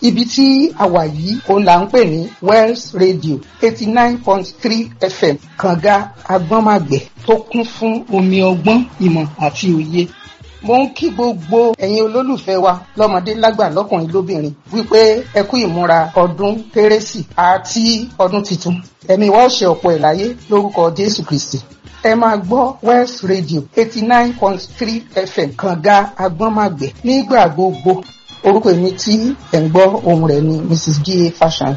Ibi tí a wà yìí òun là ń pè ní Wells Radio 89.3 FM, kànga agbọ́nmàgbẹ̀ tó kún fún omi ọgbọ́n, ìmọ̀ àti òye. Mo ń kí gbogbo ẹ̀yin olólùfẹ́ wa lọ́mọdé lágbà, lọ́kùnrin lóbìnrin, wípé ẹ kú ìmúra ọdún kérésì àti ọdún tuntun. Ẹ̀mí wa ó ṣe ọ̀pọ̀ ẹ̀ láyé lórúkọ Jésù Kristi. Ẹ máa gbọ́ West Radio 89.3 FM, kànga agbọ́nmàgbẹ̀, nígbà gbogbo. Orúkọ èmi tí ẹ̀ ń gbọ́ ohùn rẹ̀ ni Mrs. G.A. Fashion.